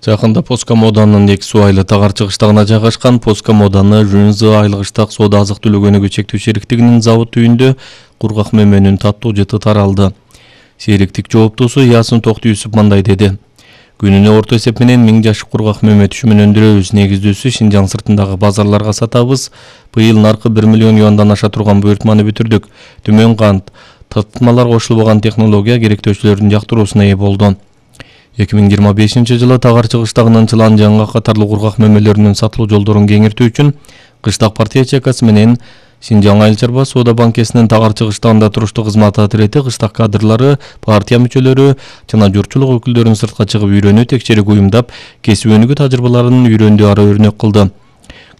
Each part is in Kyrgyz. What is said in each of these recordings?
Жакында Поска Моданын эки суу айыл тагар чыгыштагына жайгашкан Поска Моданы Жунзы айылгыштак соода азык түлүк өнүгүү чектөө шериктигинин завод үйүндө кургак мөмөнүн таттуу жыты таралды. Шериктик жооптусу Ясын Токтуюсуп мындай деди. Күнүнө орто эсеп менен 1000 жаш кургак мөмө түшүмүн өндүрөбүз. Негиздүүсү Шинжаң сыртындагы базарларга сатабыз. Быйыл наркы 1 миллион юандан аша турган буйртманы бүтүрдүк. Төмөн кант, татытмалар кошулбаган технология керектөөчүлөрдүн жактыруусуна ээ болду. 2025-жылы тагар чыгыштагынын Чылан жаңга катарлуу кургак мөмөлөрүнүн сатылуу жолдорун кеңиртүү үчүн кыштак партия чекасы менен Шинжаң айыл чарба соода банкесинин тагар чыгыштагында туруштук кызмат атрети кыштак кадрлары, партия мүчөлөрү жана журтчулук өкүлдөрүн сыртка чыгып үйрөнүү текшерүү уюмдап, кесип өнүгүү тажрыйбаларын үйрөндүү ара өрнөк кылды.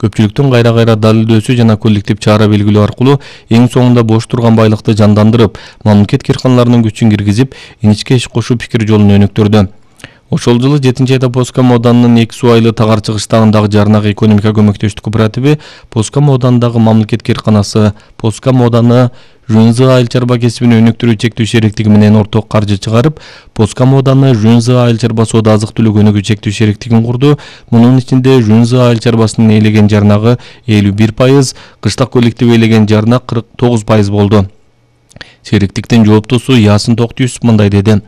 Көпчүлүктүн кайра далилдөөсү жана коллектив чара белгилөө аркылуу эң соңунда бош турган байлыкты жандандырып, мамлекет кирканаларынын күчүн киргизип, иничке иш кошуу пикир жолун өнүктүрдү. Ошол жылы 7-айда Поска Моданын эки суу айыл тагар чыгыштагындагы жарнак экономика көмөктөштүк кооперативи Поска Модандагы мамлекет кирканасы Поска Моданы Жунзы айыл чарба кесибин өнүктүрүү чектөө шериктиги менен орток каржы чыгарып, Поска Моданы Жунзы айыл чарба соода азык түлүк өнүгүү чектөө шериктигин курду. Мунун ичинде Жунзы айыл чарбасынын ээлеген жарнагы 51%, кыштак коллектив ээлеген жарнак 49% болду. Шериктиктин жооптусу Ясын Токтуюсуп мындай деди.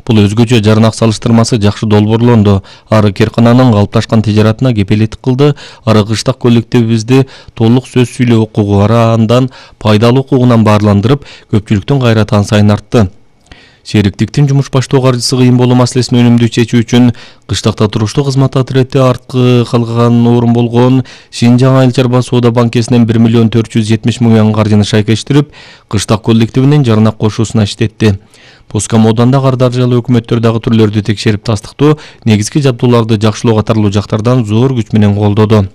Бул өзгөчө жарнак салыштырмасы жакшы долбоорлонду. Ары киркананын калыпташкан тижаратына кепилеттик кылды. Ары кыштак коллективибизди толук сөз сүйлөө укугу ара андан пайдалуу укугунан баарландырып, көпчүлүктүн кайраты сайын артты. Шериктиктин жумуш баштоо каржысы кыйын болуу маселесин өнүмдүү чечүү үчүн кыштакта туруштук кызмат атрети арткы калган орун болгон Шинжаң айыл чарба соода банкесинен 1 миллион 470 миң юан каржыны шайкештирип, кыштак коллективинин жарнак кошуусуна иштетти. Поска Моданда кар даржалуу өкмөттөр дагы түрлөрдү текшерип тастыктоо, негизги жабдууларды жакшылоо катарлуу жактардан зор күч менен колдоду.